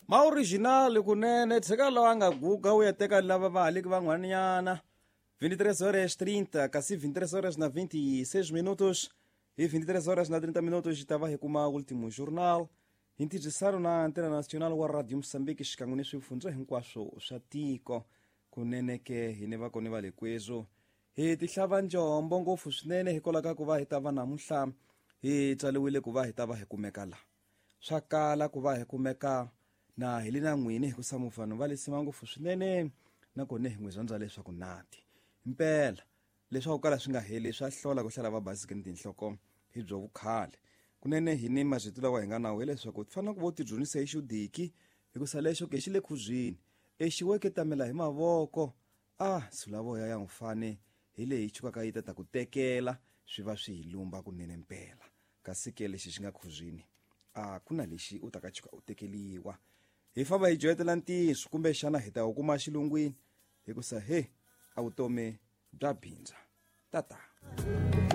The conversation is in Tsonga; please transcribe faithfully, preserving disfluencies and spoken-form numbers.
Ma original kunene tshika lowa nga guga u ya teka lava va haliki van'wanyana. vinte e três horas e trinta, kasi vinte e três horas na vinte e seis minutos e vinte e três horas na trinta minutos tava hi kuma último jornal. Hi ntirhisano na Antena Nacional wa Radio Moçambique xikan'we ni swifundza hinkwaswo swa tiko. Kunene ke hi ni vakoni va le kwezo hi tihlava njombo ngopfu swinene hikwalaho ka ku va hi ta va namuntlha hi tswariwile ku va hi ta va hi kumeka la. Swa kala ku va hi kumeka na hi le na n'wini hikusa mufano va lesima ngopfu swinene nakona hi n'wi rhandza leswaku nati mpela leswaku kala swi nga heli swa hlola ku hlala va basikeni tinhloko hi byo vukhale. Kunene hi ni marito lawa hi nga nawo hileswaku ti fanele ku vo ti dyondzisa hi xudiki hikusa lexo ke xi le khuzwini exiweke tamela hi mavoko a sulavoya ya n'wufane hi leyi chukaka yi ta ta ku tekela swi va swi hi lumba kunene mpela. Kasi ke lexi xi nga khuzwini a ku na lexi u ta ka chuka u tekeliwa. Hi famba hi joyetela ntiyiso kumbexana hi ta wu kuma xilungwini hikusa he a vutomi bya bindza. Tata.